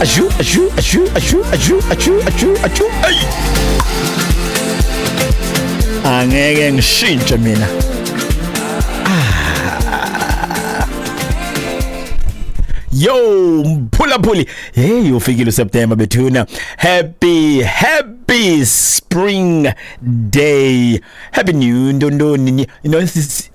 Ashu, ashu, ashu, ashu, ashu, ashu, ashu, ashu. Ay! Angeke ngishintshe mina. Yo, mphulaphuli. Hey, ufikile uSeptember bethuna. Happy, happy spring day. Happy new ndondoni. You know,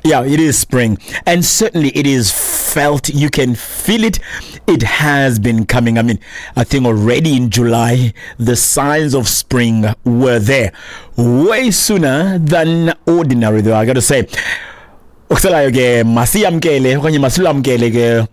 yeah, it is spring. And certainly it is felt. You can feel it. It has been coming. I mean, I think already in July, the signs of spring were there. Way sooner than ordinary, though, I gotta say. Okusalayo ke masiyamkele okanye masilamkele ke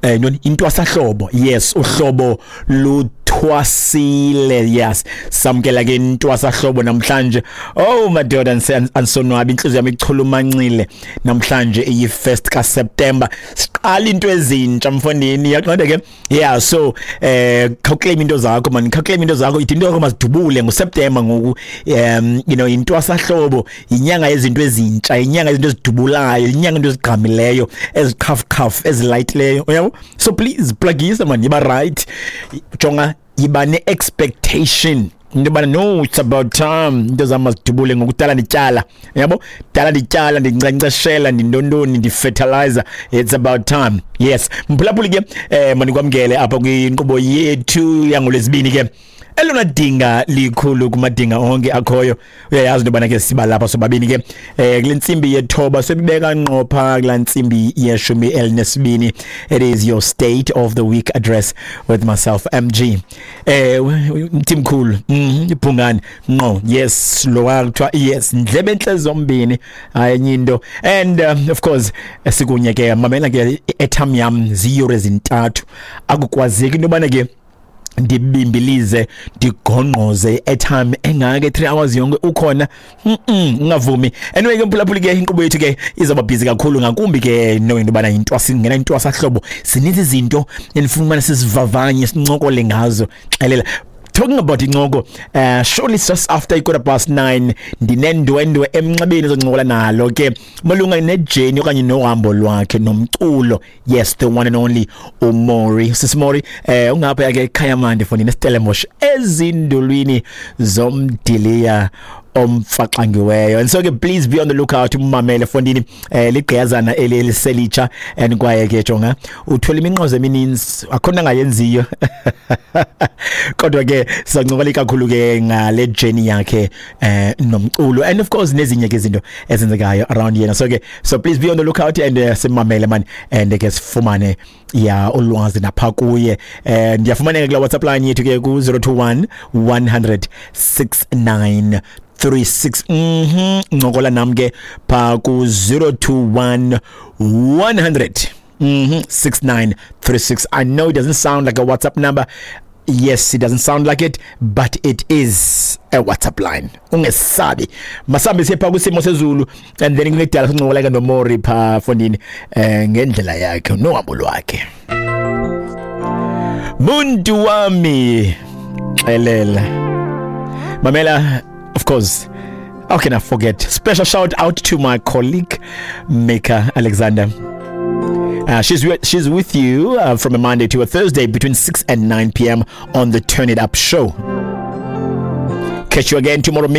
ntoni, intwasahlobo. Yes, uhlobo luthwasile. Yes, samkela ke intwasahlobo namhlanje. Oh madoda, andisonwabi, intliziyo yam ichulumancile namhlanje iyi-1st kaSeptember, siqala into ezintsha mfondini, yaqonda ke. Yeah, so khawuclaim into zakho man, khawuclaim into zakho, ithi into yakho mazidubule ngoSeptember ngoku. Intwasahlobo yinyanga yezinto ezintsha, yinyanga yezinto ezidubulayo, yinyanga into ezigqamileyo, eziqhafqhaf, ezilayitileyo, uyabo. So please plugisa man, yiba right, jonga, yiba ne-expectation into yobana no, it's about time into zam mazidubule ngokudala ndityala, yabo, dala ndityala, ndinkcenkceshela, ndintontoni, ndifertilizer. It's about time. Yes, mphulaphuli ke, mandikwamkele apha kwinkqubo yethu yangoLwezibini ke, elona dinga likhulu kumadinga onke akhoyo. Uyayazi into yobana ke siba lapha sobabini ke kule ntsimbi yethoba, sobibeka ngqo phaa kulaa ntsimbi ye-12. It is your State of the Week Address with myself, MG, mthimkhulu, ibhungane ngqo. Yes, lo kuthiwa yes, ndlebe entle zombini, hayi enye into. And of course sikunye ke, mamela ke, i-airtime yam ziyure 3, akukwazeki into yobana ke ndibimbilize, ndigongqoze i-airtime engaka 3 hours yonke ukhona. Ungavumi. Anyway ke mphulaphuli ke, inkqubo yethu ke izawuba busy kakhulu, ngakumbi ke knowing into yobana singena intwasahlobo, zininzi izinto endifuna ubana sizivavanye, sincokole ngazo. Xelela. Talking about incoko, surely just after 9:15 ndinendwendwe emnxebeni ezoncokola nalo ke malunga nejourney okanye nohambo lwakhe nomculo. Yes, the one and only uMori, Sisimori, ungapha ke ekhaya mandi fondini eStellenbosch, ezindulwini zomdiliya omfaxangiweyo. And so ke please be on the lookout, umamele fondini, ligqiyazana eli eliselitsha and kwaye ke jonga, uthola iminqozo emininzi, akho nto angayenziyo. Kodwa ke sizancokola kakhulu ke ngale journey yakhe nomculo and of course nezinye ke izinto ezenzekayo around yena. So ke, so please be on the lookout and simamele man, and ke sifumane ya ulwazi napha kuye. Ndiyafumaneka kula WhatsApp line yethu ke ku 021 100 69 36. Ncokola nam ke pha ku 021 100 6936. I know it doesn't sound like a WhatsApp number. Yes, it doesn't sound like it, but it is a WhatsApp line. Ungesabi. Masambe sipha kusimo sezulu and then kungekudala sincokola ke noMori pha fondini ngendlela yakhe nohambo lwakhe. Muntu wami xelela. Mamela, of course, how can I forget? Special shout out to my colleague Mika Alexander. She's with you from a Monday to a Thursday between 6 and 9 p.m. on the Turn It Up show. Catch you again tomorrow.